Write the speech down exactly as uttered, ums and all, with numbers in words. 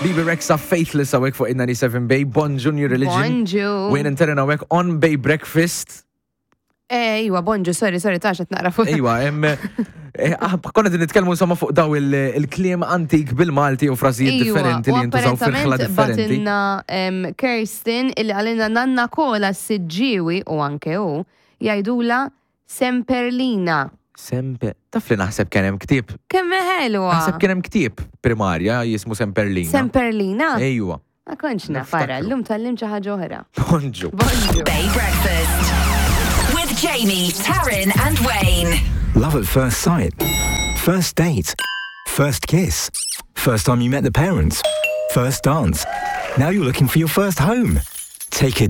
Bebe Rexha Faithless hawnhekk fuq in-ninety-seven Bay, Bonġu New Religion. Bonġu. Wayne and Taryn hawnhekk on Bay Breakfast. Ejwa, bonġu, sorry, sorry, tax qed naqra fuq. Ejwa, em, eh, ah, konna din nitkellmu insomma fuq daw il- il-kliem antik bil-Malti u frażijiet differenti li jintużaw fil-ħla differenti. Bagħtilna em, Kirsten illi qalilna nanna Kola s-Siġġiewi u anke u jgħidula Semperlina. Sempe, taf li naħseb kien hemm ktieb. Kemm ħelwa. Naħseb kien hemm ktieb primarja jismu Semperlina. Semperlina? Ejwa. Ma kontx nafara, Niftakru. llum tgħallimt xi ħaġa oħra. Bonġu. Bonġu. Bay Breakfast. With Jamie, Taryn, and Wayne. Love at first sight. First date. First kiss. First time you met the parents. First dance. Now you're looking for your first home. Take a